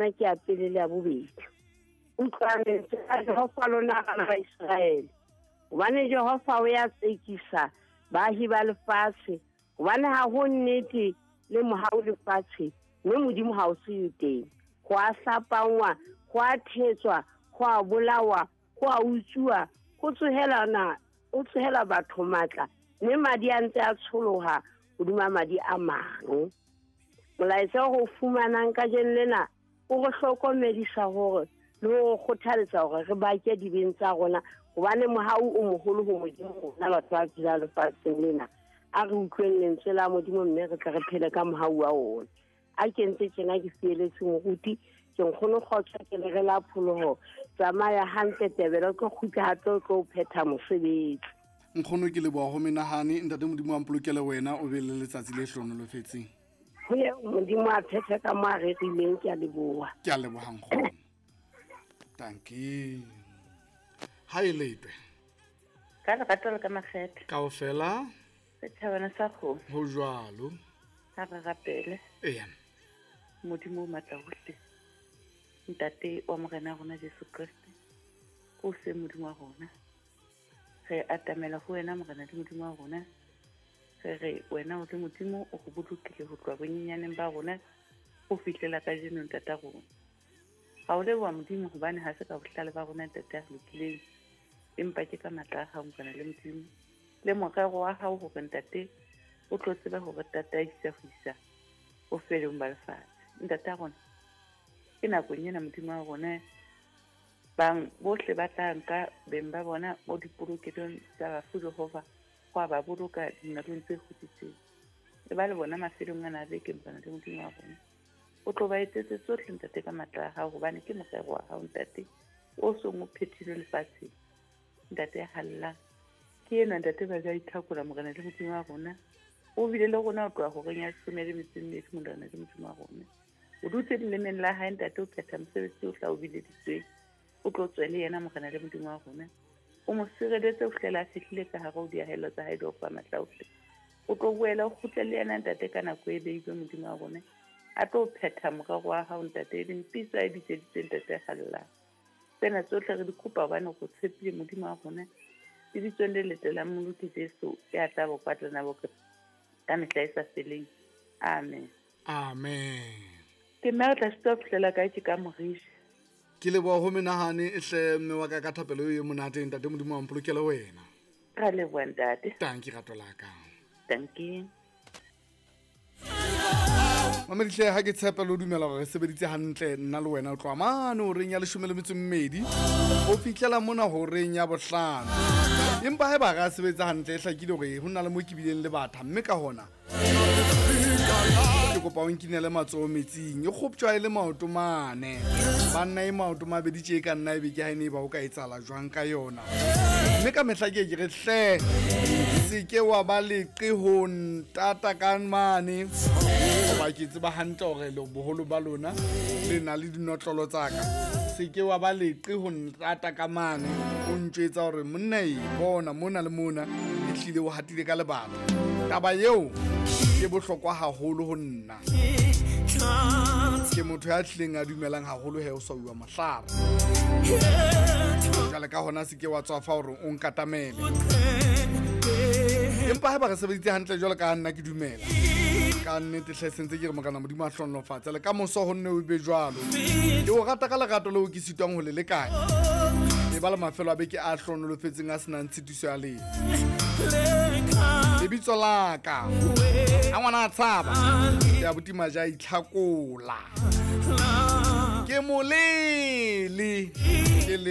Ke ya pele le ya bobedi. Utlwang lentswe la Jehova lona bana ba Iseraele, hobane Jehova o ya tsekisa baahi ba lefatshe, hobane ha ho nnete le mohau lefatshe, mme Modimo ha o se teng. Ho a hlapangwa, ho a thetswa, ho a bolawa, ho a utsuwa, ho tsohelana, ho tsohela batho matla, mme madi a ntse a tsholoha hodima madi a mang. Molaetsa o re o fumanang kajeno lena o re hlokomedisa hore le ho re kgothaletsa hore re bake dibeng tsa rona, hobane mohau o moholo ho Modimo rona batho ba phelang lefatsheng lena. A re utlweng lentswe la Modimo mme re tle re phele ka mohau wa ona. A ke ntse tjena ke fieletse moruti, ke nkgono kgotso, ke le re la pholoho. Tsamaya hantle Tebele, o tlo kgutla hape o tlo phetha mosebetsi. Nkgono ke leboha ho menahane, ntate Modimo a mpolokele wena, o be le letsatsi le hlohonolofetseng. Ho ye Modimo a phethe ka mo a rerileng, ke a leboha. Ke a leboha nkgono. Dankie. Ha e letwe. Ka lerato le ka makgethe. Kaofela. Setjhabana sa kgomo. Ho jwalo. Ha re rapele. Eya. Modimo o matla hohle. Ntate wa Morena rona Jesu Kreste. O se Modimo wa rona. Re atamela ho wena Morena le Modimo wa rona. Re re wena o le Modimo o re bolokile ho tloha bonyenyaneng ba rona ho fihlela kajeno ntata rona. Ga o leboha Modimo hobane ha se ka bohlale ba rona ntate a re lokileng, empa ke ka matla a hao Morena le Modimo le morero wa hao hore ntate o tlo tsebe hore tataisa ho isa bofelong ba lefatshe. Ntate a rona, ke nakong ena Modimo wa rona bang bohle ba tla nka beng ba bona mo dipolokelong tsa bafu Jehova go a ba boloka dinalong tse kgutsitseng. E ba le bona mafelong ana a beke Morena le Modimo wa rona. O tlo ba etsetse tsohle ntate ka matla a hao, hobane ke morero wa hao ntate o song o phethilwe lefatsheng. Ntate ya hallang ke enwa ntate ba ja ithakola Morena le Modimo wa rona. O bile le rona o tloha horeng ya 12 Morena le Modimo wa rona. O dutse lelemeng la hae ntate o phetha mosebetsi o tla o bileditsweng. O tlo tswe le yena Morena le Modimo wa rona. O mo sireletse ho fihlela a fihlile ka hare ho diahelo tsa hae Jehova matla ohle. O tlo boela o kgutle le yena ntate ka nako e beilwe Modimo wa rona. A tlo phetha morero wa hao ntate e leng pitso a e bitseditsweng ntate hallang. Tsena tsohle re di kopa hobane go tshepile Modimo wa rona. Lebitsong le letle la Mmoloki Jesu ya tla bokwa tlana boke ka mehla e sa feleng. Amen. Amen. Ke nna re tla sitwa fihlela kae ke ka morisha. Ke leboha ho menahane e hle mme wa ka ka thapelo eo e monate ntate Modimo wa mpolokele wena. Ra leboha ntate. Tanki rato la ka. Tanki. Mamedihle ha ke tshepa le o dumela gore re sebeditse hantle nna le wena o tloha mane horeng ya 12 o fihlela mona horeng ya 5. Empa haeba re a sebetsa hantle e hlakile hore ho na le mo ke bileng le batha mme ka hona ke kopa o nkinele matsoho metsing e kgoptjwa e le maoto mane banna e maoto mabedi tje e ka nna ebe ke ha e ne e ba o ka etsahala jwang ka yona mme ka mehla ke ke re hle se ke wa ba leqe ho ntata ka mane hoba ke tseba hantle hore boholo ba lona le na le dinotlolo tsa ka. Se ke wa ba leqe ho ntata ka mane o ntjwetsa hore monna e bona mona le mona e hlile o hatile ka lebaka. Taba eo ke bohlokwa haholo ho nna. Ke motho ya tlileng a dumelang haholo he o swauwa mohlare. Jwale ka hona se ke wa tswafa hore o nkatamele. Empa haeba re sebeditse hantle jwalo ka nna ke dumela. Ka nnete hle sentse ke re Morena Modimo a hlohonolofatse le ka moso ho nne o be jwalo. Ke o rata ka lerato leo ke sitwang ho le lekanya. E ba le mafelo a beke a hlohonolofetseng a senang tshitiso ya letho. Lebitso la ka a ngwana a tshaba ya botima ja itlhakola ke molele ke le.